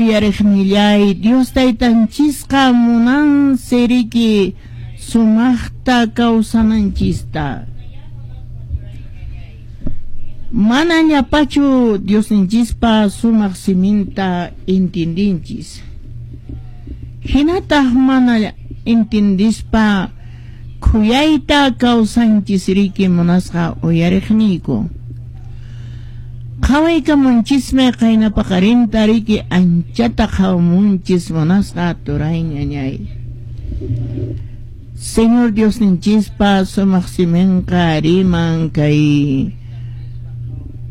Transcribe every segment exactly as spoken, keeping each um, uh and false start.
Uyariqnillay, Dios taytanchisqa munansi riki sumaqta kawsananchista. Mana llapachu Diosninchispa sumaq siminta intindinchis. Hinataq mana intindispa khuyayta kawsanchis riki munasqa uyariqniyku. Qhawaykamunchismi qayna paqarinta riki anchata qhawamunchis munasqa turay ñañay. Señor Diosninchispa sumaq siminqa riman kay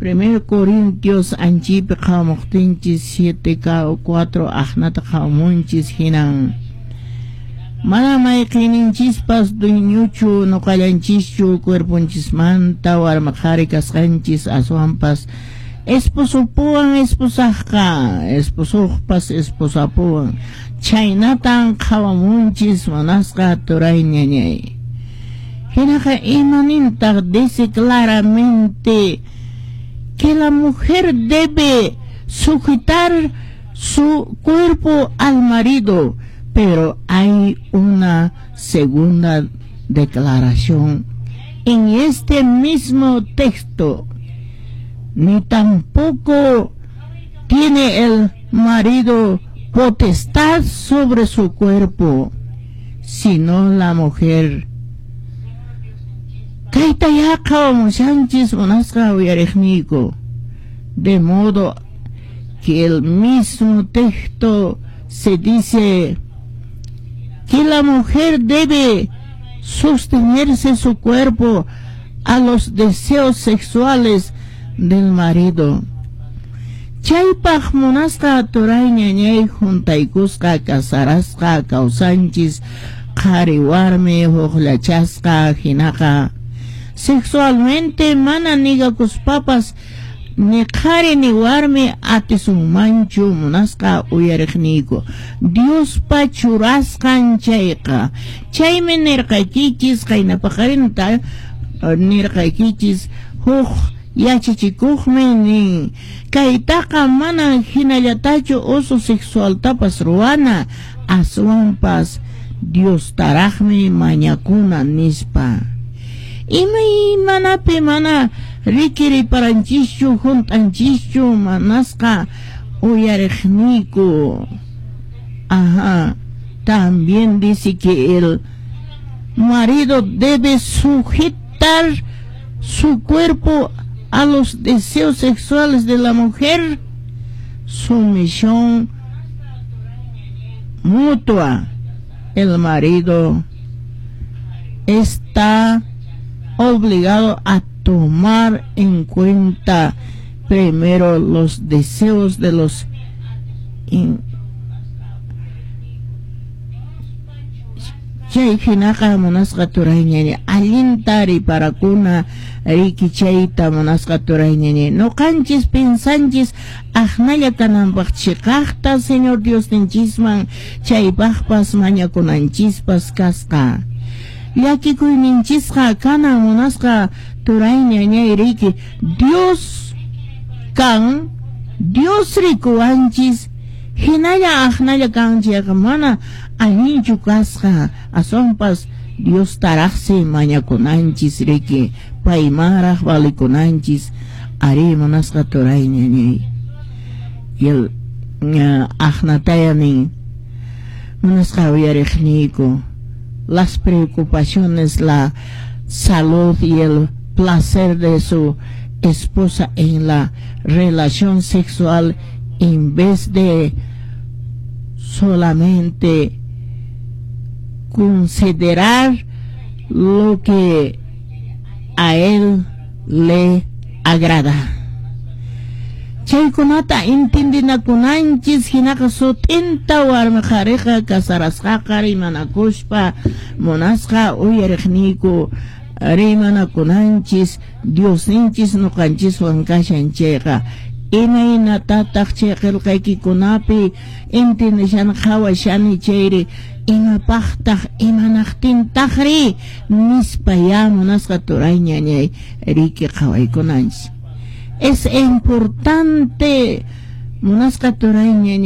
Primero Corintios anchipi qhawamuqtinchis siete cuatro aqnata qhawamunchis hinan mana mayqinichispas dueñochu nuqallanchischu cuerponchismanta warma qhari kasqanchis aswanpas esposopuwan esposaqqa esposoqpas esposapuwan chhaynatan qhawamunchis munasqa turay ñañay. Hinaqa imanintaq dice claramente que la mujer debe sujetar su cuerpo al marido, pero hay una segunda declaración en este mismo texto. Ni tampoco tiene el marido potestad sobre su cuerpo, sino la mujer. Kayta qhawamushanchis munasqa uyariqniyku. De modo que el mismo texto se dice que la mujer debe sostenerse su cuerpo a los deseos sexuales del marido. Chaypaq munasqa turay ñañay juntaykusqa kasarasqa kawsanchis qhari warmi hukllachasqa hinaqa sexualmente mana nigakuspapas ni qhari ni warmi atisunmanchu munasqa uyariqniyku Diospa churasqan chayqa. Chaymi nirqaykichis qayna paqarinta nirqaykichis huk yachachikuqmi nin kaytaqa mana hinallatachu uso sexualtapas ruwana aswanpas Diostaraqmi mañakuna nispa. Imaymanapi mana rikiriparanchischu hunt'anchischu manasqa uyariqniyku. Ajá, también dice que el marido debe sujetar su cuerpo a los deseos sexuales de la mujer, sumisión mutua. El marido está obligado a tomar en cuenta primero los deseos de los in chay hinaqa munasqa turay ñañay allinta riparakuna riki chayta munasqa turay ñañay nuqanchis pinsanchis aqnalla kananpaq chiqaqta Señor Diosninchisman chaypaqpas mañakunanchispas kasqa llakikuyninchisqa kanan munasqa turay ñañay riki Dios kan Dios rikuwanchis hinalla aqnalla kanchayqa mana allinchu kasqa aswanpas Dios taraqsi mañakunanchis riki paymanraq valikunanchis ari munasqa turay ñañay. Y el aqnataya nin munasqa uyariqniyku las preocupaciones, la salud y el placer de su esposa en la relación sexual en vez de solamente considerar lo que a él le agrada. Chaykunata intindinakunanchis hinaqa sut'inta warmi qhariqa kasarasqaqa rimanakuspa munasqa uyariqniyku rimanakunanchis Diosninchis nuqanchiswan kashan chayqa imaynatataq chay qillqaykikunapi intindishan qhawashani chayri imapaqtaq imanaqtintaqri nispa ya munasqa turay ñañay riki qhawaykunanchis. Es importante munasqa turay ñañay.